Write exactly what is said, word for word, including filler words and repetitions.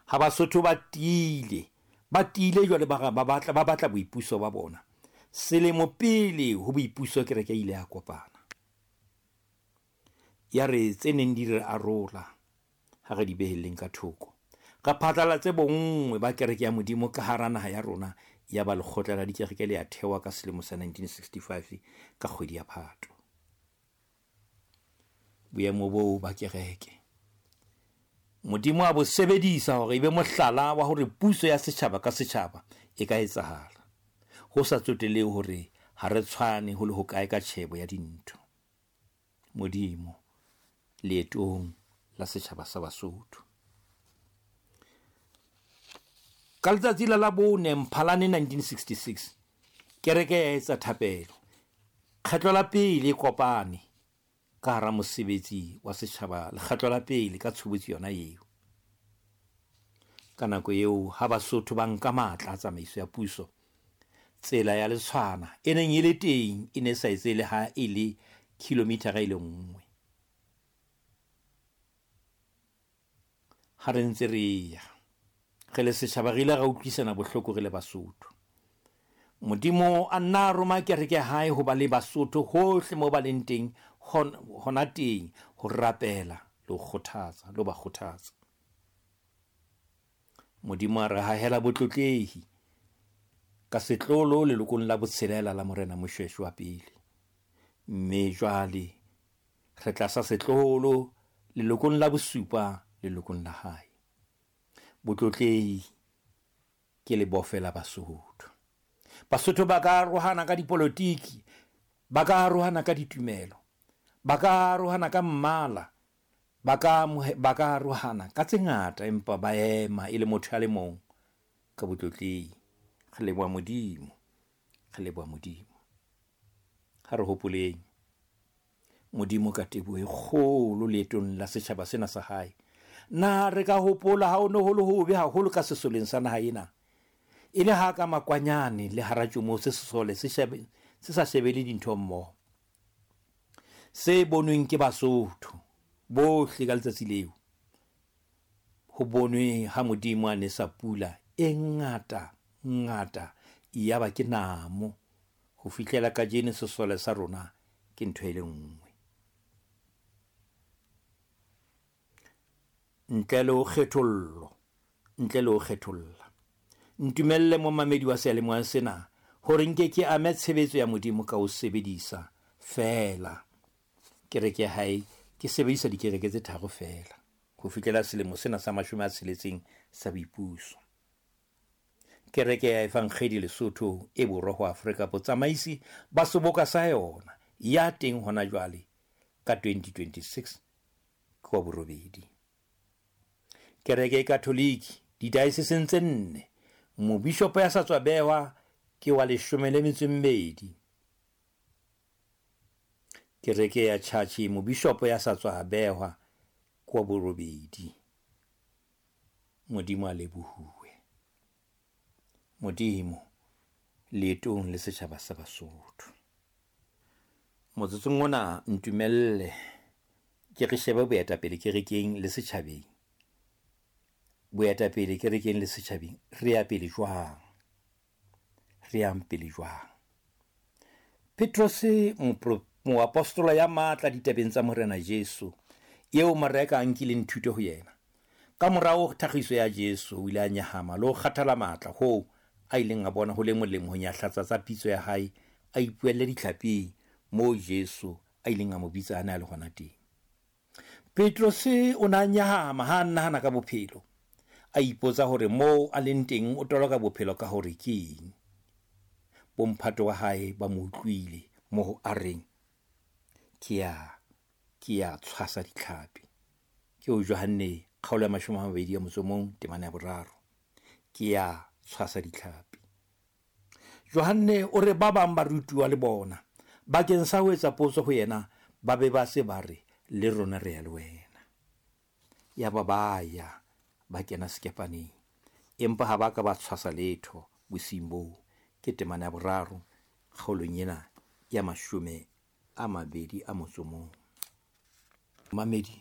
Ha Basotho ba tiile, ba tiile jwale ba ba batla ba batla boipuso ba bona. Selemo pele ho boipuso kereke e ile ya kopana. Ya re tse neng di re arola ha re di behelleng ka thoko. Re phatlalatse bonngwe ba kereke ya Modimo ka hara naha ya rona, ya ba lekgotla la dikereke le ya thewa ka selemo sa nineteen sixty-five ka kgwedi ya Phato. Boemo boo ba kereke Modimo a bo sebedisa hore e be mohlala wa hore puso ya setjhaba ka setjhaba e ka etsahala, ho sa tsotelehe hore ha re tshwane ho le hokae ka tjhebo ya dintho. Modimo leetong la setjhaba sa Basotho. Ka letsatsi la Labone Mphalane nineteen sixty-six, kereke ya etsa thapelo. Kgetlo la pele e kopane ka hara mosebetsi wa setjhaba, lekgetlo la pele ka tshobotsi yona eo. Ka nako eo ha Basotho ba nka matla a tsamaiso ya puso, tsela ya Letshwana e neng e le teng e ne sa etse le ha e le kilomithara e le nngwe. Ha re ntse re ya re le setjhaba, re ile ra utlwisana bohloko re le Basotho. Modimo a nna a roma kereke ya hae ho ba le Basotho hohle moo ba leng teng, hona teng ho rapela le ho kgothatsa, le ho ba kgothatsa. Modimo a re hahela botlotlehi ka setlolo lelokong la botshelela la Morena Moshoeshoe wa pele. Mme jwale re tlasa setlolo lelokong la bosupa lelokong la hae. Botlotlehi ke lebofe la Basotho. Basotho ba ka arohana ka dipolotiki, ba ka arohana ka ditumelo, ba ka arohana ka mmala, ba ka ba ka arohana ka tse ngata, empa ba ema e le motho a le mong ka botlotlehi. Re leboha Modimo, re leboha Modimo. Ha re hopoleng Modimo ka teboho e kgolo leetong la setjhaba sena sa hae. Na re ka hopola ha o ne ho le hobe haholo ka sesoleng sa naha ena, e le ha ka makwanyane le hara tšomo se sesole se shebe se sa shebele dintho mmoho. Se bonweng ke Basotho bohle ka letsatsi leo, ho bonwe ha Modimo a nesa pula e ngata ngata, yaba ke namo ho fihlela kajeno sesole sa rona ke ntho e le nngwe. Ntle le ho kgethollo, ntle le ho kgetholla. Ntumelle momamedi wa seyalemoya sena hore nke ke ame tshebetso ya Modimo ka ho sebedisa feela kereke ya hae. Ke sebedisa dikereke tse tharo feela ho fihlela selemo sena sa mashome a tsheletseng sa boipuso. Kereke ya Evangeli Lesotho e borwa ho Afrika, botsamaisi ba seboka sa yona ya teng hona jwale ka twenty twenty-six ke wa borobedi. Kereke e Katholiki didaeseseng tse nne, mobishopo ya sa tswa behwa ke wa leshome le metso e mmedi. Kereke ya Church, mobishopo ya sa tswa behwa ke wa borobedi. Modimo a lebohuwe. Modimo leetong le setjhaba sa Basotho. Motsotsong ona ntumelle ke re shebe boetapele kerekeng le setjhabeng. Boetapele kerekeng le setjhabeng, re ya pele jwang? Re yang pele jwang? Petrose, moapostola ya matla ditabeng tsa Morena Jesu, eo Mareka a nkileng thuto ho yena. Ka morao thakgiso ya Jesu, o ile a nyahama le ho kgathala matla hoo a ileng a bona ho le molemo ho nyahlatsa tsa pitso ya hae, a ipuelle ditlhaping moo Jesu a ileng a mo bitsa a ne a le hona teng. Petrose o ne a nyahama ha a nahana ka bophelo, a ipotsa hore moo a leng teng o toloka bophelo ka hore ke eng. Bomphato wa hae ba mo utlwile moo a reng, ke ya ke ya tshwasa ditlhapi. Ke o Johanne kgaolo ya mashome a mabedi a motso o mong temana ya boraro. Ke ya tshwasa ditlhapi. Johanne o re ba bang ba rutuwa le bona bakeng sa ho etsa potso ho yena, ba be ba se ba re le rona re ya le wena. Yaba ba ya ba kena sekepaneng, empa ha ba ka ba tshwasa letho bosiung boo. Ke temana ya boraro kgaolong ena ya mashome a mabedi a motso o mong. Mamedi,